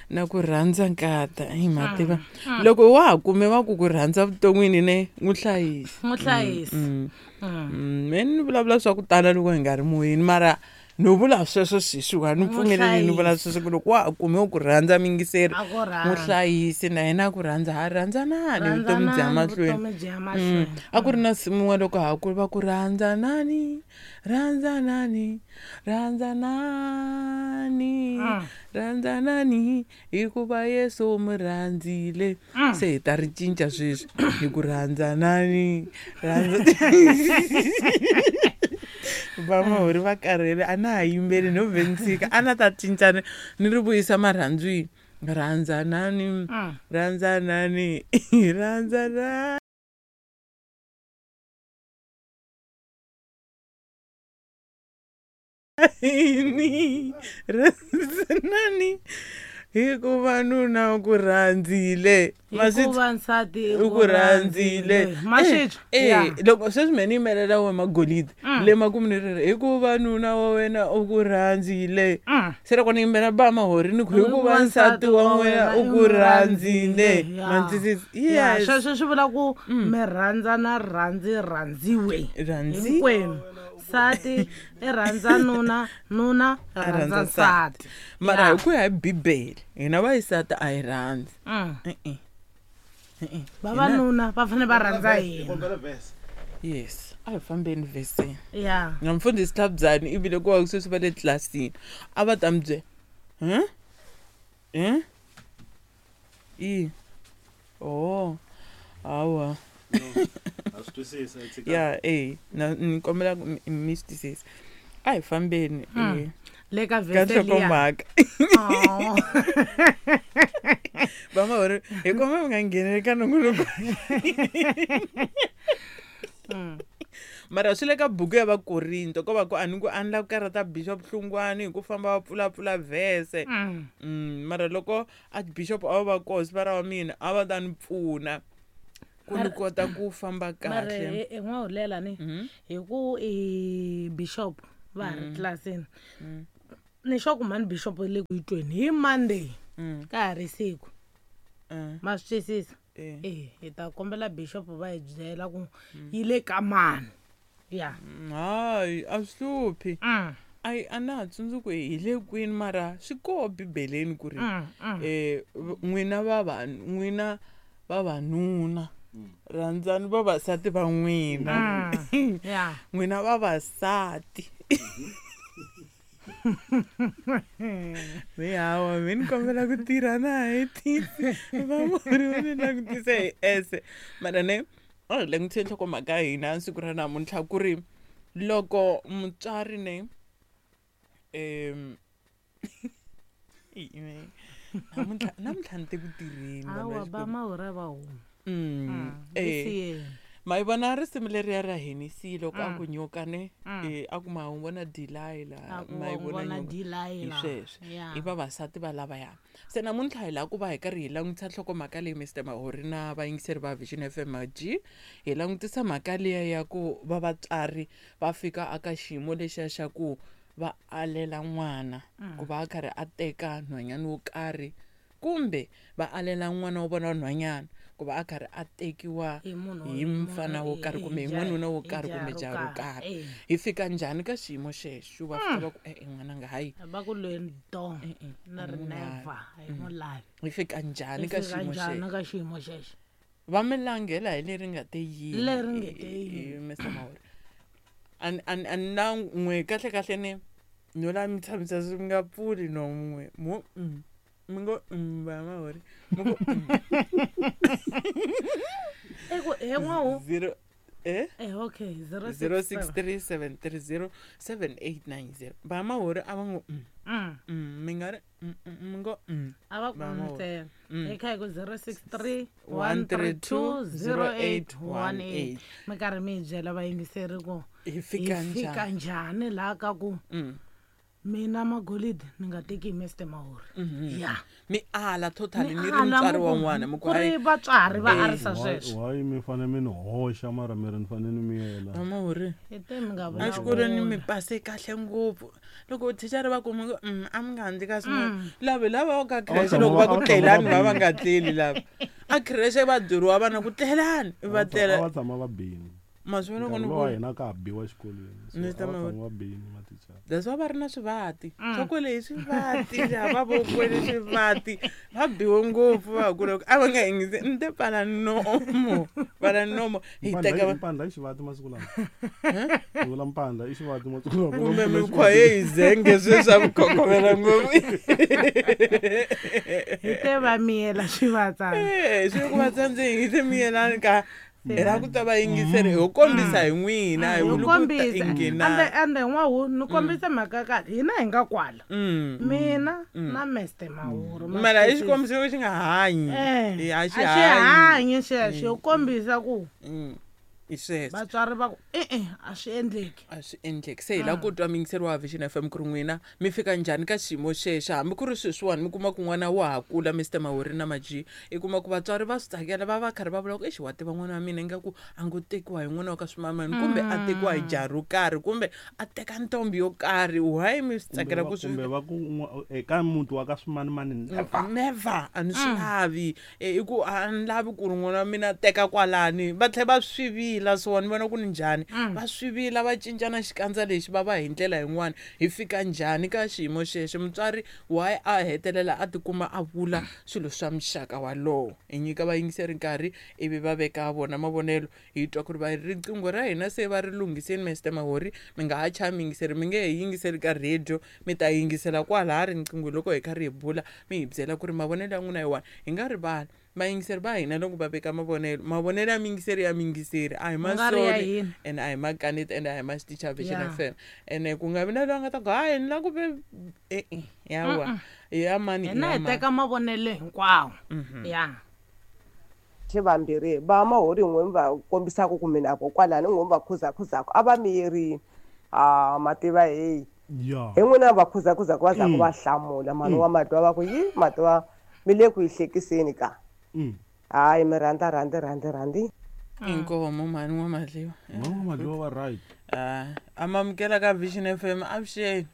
Na ku rhandza nkata hi ma tiva loko wa ha kume va ku ku rhandza vuton'wini ne n'wi hlayisi. N'wi hlayisi. Me ni vulavula swa ku tala loko hi nga ri moyeni, mara no vula sweswo sweswiwani, ni pfumeleli ni vula sweswo ku loko wa ha kume ku rhandza mingiseri, A ku rhandza. n'wi hlayisi na yena a ku rhandza, ha rhandzanani vutomi bya Rhandzanani, mahlweni. vutomi byi ya mahlweni. A ku ri na nsimu yin'wana loko ha kula va ku rhandzanani, rhandzanani, rhandzanani, rhandzanani hikuva Yesu u mi rhandzile. Se hi ta ri cinca sweswi hi ku rhandzanani, rhandza vamahori va karhele, a na ha yimbeli no vhe ni tshika, a na ta cinca ni ri vuyisa marhandzwini. Rhandzanani, rhandzanani, rhandzanani, rhandzanani hikuva nuna u ku rhandzile. Maswi- Hikuva nsati u ku rhandzile. Maswitwa. Eh, loko sweswi me ni yimelela we magolide le makumu ni ri hikuva nuna wa wena u ku rhandzile. Se loko ni yimbela ba mahori ni ku hikuva nsati wa wena u ku rhandzile. Ma ni twisisa? Ya, Yes. sweswo swi vula ku mi rhandzana, rhandzi rhandziwe Rhandzi. hinkwenu. Nsati i rhandza nuna, nuna i A rhandza rhandza nsati. nsati. Mara hi ku ya hi bibele hina vayisati a hi rhandzi. E-e. E-e. Vavanuna va fanele va rhandza hina. Kombela verse. Yes, a hi fambeni veseni. Ya. Na mfundhisi Tlhabyani ivile ku va sweswi va le tlilasini a va ta mi byela huh? Eh? I oh hawa. Ha swi twisisa, tshika. Ya, e na ni kombela ku mi swi twisisa, a hi fambeni eh, Le ka ka vhese liya. nhlokomhaka. Oh. Vamahori hi kombela mi nga ngheneli ka nongonoko, mara swi le ka buku ya Vakorinto ko va ku a ni ku a ni lava ku karhata bishop Hlungwani hi ku famba va pfulapfula vhese. Mara loko archbishop a va va koho siva ra wa mina a va ta ni pfuna ku ni kota ku famba Mara kahle. hi n'wahulela ni hi ku i bishop va ha ri tlilasini, ni sure ku mhani bishop le ku yitweni hi Monday ka ha ri siku. Ma swi twisisa? Eh. E hi ta kombela bishop va hi byela ku yi le ka mani. Ya. Hayi, a swi hluphi. Ayi, a na ha tsundzuki hi le kwini, mara swi koho bibeleni ku ri n'wina va n'wina vavanuna rhandzani vavasati va n'wina. Ya. N'wina vavasati mi hawa mi ni kombela ku tirha na hetisi vamori va ni langutise hi ese. Mara ne a hi langutise nhlokomhaka ya hina siku ra namuntlha ku ri loko mutswari ne namuntlha namuntlha ni te ku tirheni vanhu va Hawa ba Xikwembu. mahora va huma. Eh. Siyeni. Ma yi vona risimu leriya ra Henisi loko a ku nyoka ne, a ku ma wu vona Delilah, A ku ma yi wa vona vona nyoka. Hi Delilah. sweswo. Ya. I vavasati va lavaya. Se namuntlha hi lava ku va hi karhi hi langutisa nhlokomhaka leyi Mr Mahori na vayingiseri va Vision FM G, hi langutisa mhaka liya ya ku va vatswari va fika aka xiyimo lexiya xa ku va alela n'wana ku va a karhi a teka nhwanyana wo karhi, kumbe va alela n'wana wa vona wa nhwanyana ku va a karhi a tekiwa Hi munhu hi mfana wo karhi kumbe hi n'wanuna wo karhi kumbe jaha ro karhi. Hi fika njhani ka xiyimo xexo va fika va ku e-e n'wananga hayi, Va ku lweni do E-e, na a ri ni n'wi lavi. never hi n'wi lavi. Hi fika njhani Hi ka fika xiyimo njhani xexo? ka xiyimo xexo? Va mi langela hi leri nga te yini? Leri nge te yini. Mr Mahori, a ni na n'we kahle kahle ne no la mi tshamisa swi mi nga pfuli no n'we mo mi ngo va Mahori mi ku. E ku he n'wahu. Zero eh Eh okay, 0 zero six three seven three zero seven eight nine zero. Va Mahori a va ngo mi nga ri mi ngo A va ku Va Mahori. ntsena. Hi kha hi ku 063 132 132 0818. Mi karhi mi hi byela vayingiseri ku Hi fika hi fika njhani? njhani laha ka ku Mina magolidi ni nga teki hi Mr Mahori ya. Mi ala totally Ni ni ri ala, mutswari mi wa ku- n'wana mi ku ku ri hayi. Vatswari va arisa sweswo. Why mi fanele mi ni hoxa mara mi ri ni fanele ni miyela? Mahori, Hi te mi nga exikolweni mi vulavuli. pase kahle ngopfu, loko thichara va kuma ku a mi nga handli ka swin'wana, lava lava ka creche tshama loko va ku a va tshama tlelani va va va bini. nga tleli, lava a creche va byeriwa vana ku tlelani va A tlela. va tshama va bini. Ma swi vona ku Nkarhi ni lowa vona hina ka ha biwa xikolweni, so Ni a ta va ma- tshama va bini mathicara. That's why va ri na swivati swa kwele hi swivati lava vo kwele swivati va biwe ngopfu va kula a va nga yingisi ni te pfala nomo, pfala nomo hi Mpandla teka mpandla i xivati masiku lawa. Ni vula mpandla i xivati masiku lawa. Kumbe Mpfula mikhwa xivati. ye hi zenge sweswi a mi khokhomela ngopfu. Hi te va miyela swivatsana. Eh, swi ku va tsandze hi te miyelani ka hi lava ku ta va yingiseri ho kombisa hi n'wina hi Hi vuli ku ta kombisa inghena. Ende n'wahu ni kombisa mhaka ya kahle, hina hi nga kwala, mina na Mr Mahuru ma Mara i swi twisisa. xikombiso xi nga hanyi. Eh, Eh, a xi a xi hanyi. hanyi xexo, yo kombisa ku Hi sweswo. Vatswari va ku e-e, a swi endleki. A swi endleki. Se hi lava ku twa muyingiseri wa Vision FM ku ri n'wina mi fika njhani ka xiyimo xexo, hambi ku ri sweswiwani mi kuma ku n'wana wa ha kula, Mr Mahori na Maji, i kuma ku vatswari va swi tsakela, va va karhi va vula ku exi wa tiva n'wana wa mina ingaku a ngo tekiwa hi n'wana wa ka swimamani, kumbe a tekiwa hi jaha ro karhi, kumbe a teka ntombi yo karhi, why mi swi tsakela ku swi Kumbe va ku eka muti wa ka swimanimani never. Never, a ni swi lavi. I ku a ni lavi ku ri n'wana wa mina a teka kwalani, va tlhela va swi vila so ni vona ku ni njhani va swi vila va cincana xikandza lexi va va hi ndlela yin'wana. Hi fika njhani ka xiyimo xexo? Mutswari why a hetelela a tikuma a vula swilo swa muxaka walowo? Hi nyika vayingiseri nkarhi ivi va veka vona mavonelo, hi twa ku ri va riqingho ra hina se va ri lunghiseni. Mr Mahori, mi nga ha chavi miyingiseri, mi nge he yingiseli ka radio, mi ta yingisela kwalaya riqingho loko hi karhi hi bula, mi hi byela ku ri mavonelo ya n'wina hi wani. Hi nga rivali vayingiseri va hina loko va veka mavonelo, mavonelo ya miyingiseri ya miyingiseri a hi Ku nga ri ya masoli hina. And a hi makaneti and a hi maxiticha Vision FM, ene ku nga vi na loyi a nga ta ku hayi ni lava ku ve e-e yawa ya mani. Hina ya hi mani. teka mavonelo hinkwawo ya. Xi vambirhi va Mahori, n'we mi va kombisaka ku mina kokwalani n'we mi va khuzakhuzaku a va miyerini a mativa heyi. Hi n'wina va khuzakhuzaku va zaku va hlamula mhani wa matwa va ku yi matwa mi le ku yi hlekiseni ka. Hayi, mi rhandza rhandzi rhandzi rhandzi. Inkomo mhani wa madliwa. Mama Madliwa va right. A mamukela ka Vision FM, avuxeni.